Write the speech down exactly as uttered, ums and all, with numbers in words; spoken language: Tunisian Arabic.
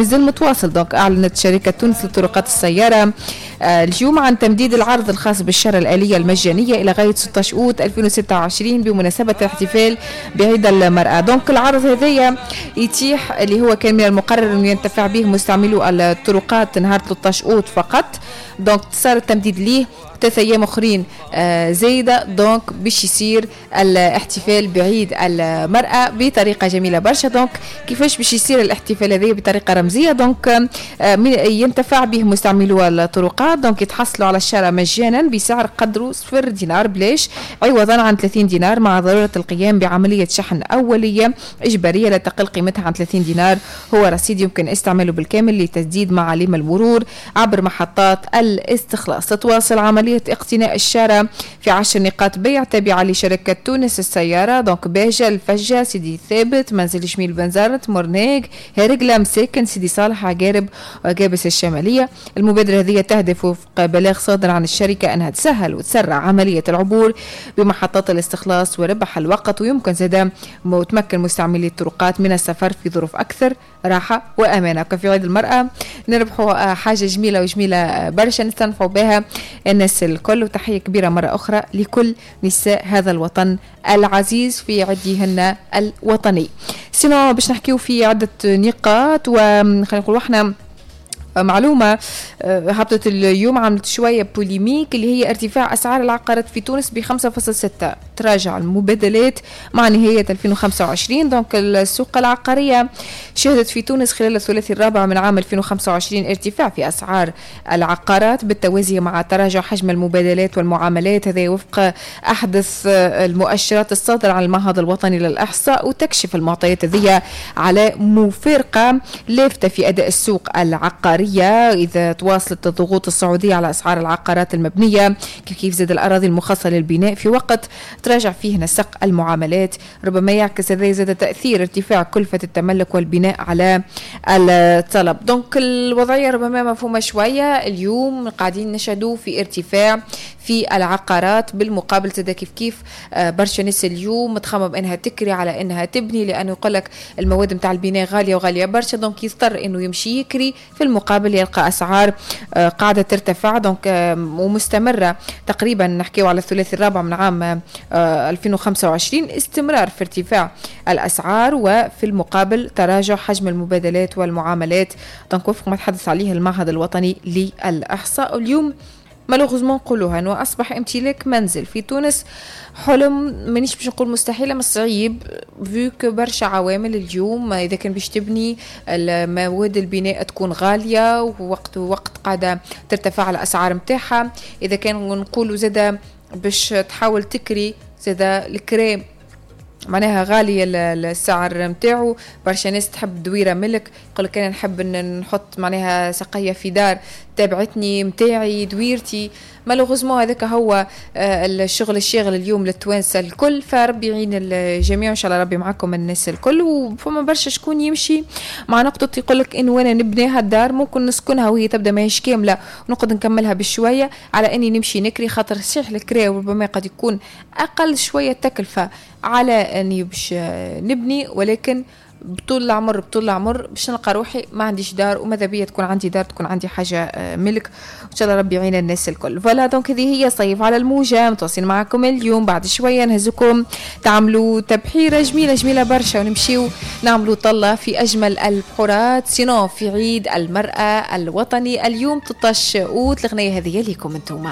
مازال متواصل. donc اعلنت شركة تونس للطرقات السيارة آه، اليوم عن تمديد العرض الخاص بالشارة الآلية المجانية إلى غاية ستة عشر أوت ألفين وستة وعشرين بمناسبة الاحتفال بعيد المرأة. donc العرض هذايا يتيح اللي هو كان من المقرر أن ينتفع به مستعملو الطرقات نهار ثلاثة عشر أوت فقط، donc صار التمديد ليه ثلاثة ايام اخرين آه، زايده، donc باش يصير الاحتفال بعيد المراة بطريقة جميلة برشا. donc كيفاش باش يصير الاحتفال هذا؟ بطريقة رمزيه. donc آه، ينتفع به مستعملو الطرقات، donc يتحصلوا على الشارة مجانا بسعر قدره صفر دينار، بلاش، عوضا عن ثلاثين دينار، مع ضرورة القيام بعملية شحن اوليه اجباريه لا تقل قيمتها عن ثلاثين دينار، هو رصيد يمكن استعماله بالكامل لتسديد معاليم المرور عبر محطات الاستخلاص. تتواصل عملية اقتناء الشارة في عشر نقاط بيع تابعة لشركة تونس السيارة، donc باجة، الفجة، سيدي ثابت، منزل جميل، بنزرت، مرناق، هرقلة، مساكن، سيدي صالح، عقارب وقابس الشمالية. المبادرة هذه تهدف وفق بلاغ صادر عن الشركة أنها تسهل وتسرع عملية العبور بمحطات الاستخلاص وربح الوقت، ويمكن زادا وتمكن مستعملي الطرقات من السفر في ظروف أكثر راحة وأمانة. في عيد المرأة نربحوا حاجة جميلة وجميلة برشا نستنفعوا بها الناس الكل. وتحية كبيرة مرة أخرى لكل نساء هذا الوطن العزيز في عيدهن الوطني. sinon باش نحكيو في عدة نقاط، وخلينا نقولوا احنا معلومة آه، هبطت اليوم عملت شوية polémique، اللي هي ارتفاع أسعار العقارات في تونس ب خمسة فاصل ستة، تراجع المبادلات مع نهاية ألفين وخمسة وعشرين. donc السوق العقارية شهدت في تونس خلال الثلاثي الرابع من عام ألفين وخمسة وعشرين ارتفاع في أسعار العقارات بالتوازي مع تراجع حجم المبادلات والمعاملات، هذا وفق أحدث المؤشرات الصادرة عن المعهد الوطني للإحصاء. وتكشف المعطيات هذه على مفارقة لافتة في أداء السوق العقارية، إذا تواصلت الضغوط الصعودية على أسعار العقارات المبنية، كيف كيف زاد الأراضي المخصصة للبناء في وقت تراجع فيه نسق المعاملات. ربما يعكس هذا زاد تأثير ارتفاع كلفة التملك والبناء على الطلب. donc الوضعية ربما مفهومة شوية، اليوم قاعدين نشهدوا في ارتفاع في العقارات، بالمقابل زاد كيف كيف آه، برشا ناس اليوم تخمم انها تكري على انها تبني، لانه يقول لك المواد نتاع البناء غالية وغاليه برشا، donc يضطر انه يمشي يكري، في المقابل يلقى اسعار آه، قاعدة ترتفع donc ومستمره. تقريبا نحكيو على الثلاثي الرابع من عام ألفين وخمسة وعشرين استمرار في ارتفاع الاسعار وفي المقابل تراجع حجم المبادلات والمعاملات، donc وفق ما تحدث عليه المعهد الوطني للاحصاء. اليوم malheureusement نقولوها انه اصبح امتلاك منزل في تونس حلم، مانيش باش نقول مستحيل اما صعيب، vu que برشا عوامل. اليوم اذا كان باش تبني، المواد البناء تكون غالية ووقت وقت قاعدة ترتفع الاسعار نتاعها. اذا كان نقولوا زاده باش تحاول تكري، زاده الكرا معناها غالية السعر نتاعو. برشا ناس تحب دويرة ملك، يقول لك انا نحب نحط معناها سقية في دار تابعتني، متاعي، دويرتي. malheureusement هذاك هو آه، الشغل الشاغل اليوم للتوانسه الكل، فربي يعين الجميع، ان شاء الله ربي معكم الناس الكل. وفما برشا شكون يمشي مع نقطة يقول لك انه انا نبنيها الدار، ممكن نسكنها وهي تبدا ماهيش كاملة ونقعد نكملها بشويه، على اني نمشي نكري، خاطر صحيح الكرا ربما قد يكون اقل شوية تكلفة على اني باش نبني، ولكن بطول العمر بطول العمر باش نلقى روحي ما عنديش دار، وماذا بيا تكون عندي دار، تكون عندي حاجة آه، ملك. ان شاء الله ربي يعين الناس الكل. voilà، donc هذه هي صيف على الموجه، متواصلين معكم اليوم. بعد شوية نهزكم تعملوا تبحيره جميلة جميلة برشا ونمشيو نعملوا طله في اجمل البحورات، sinon في عيد المراة الوطني اليوم ثلاثة عشر اوت. الاغنية هذه ليكم انتم.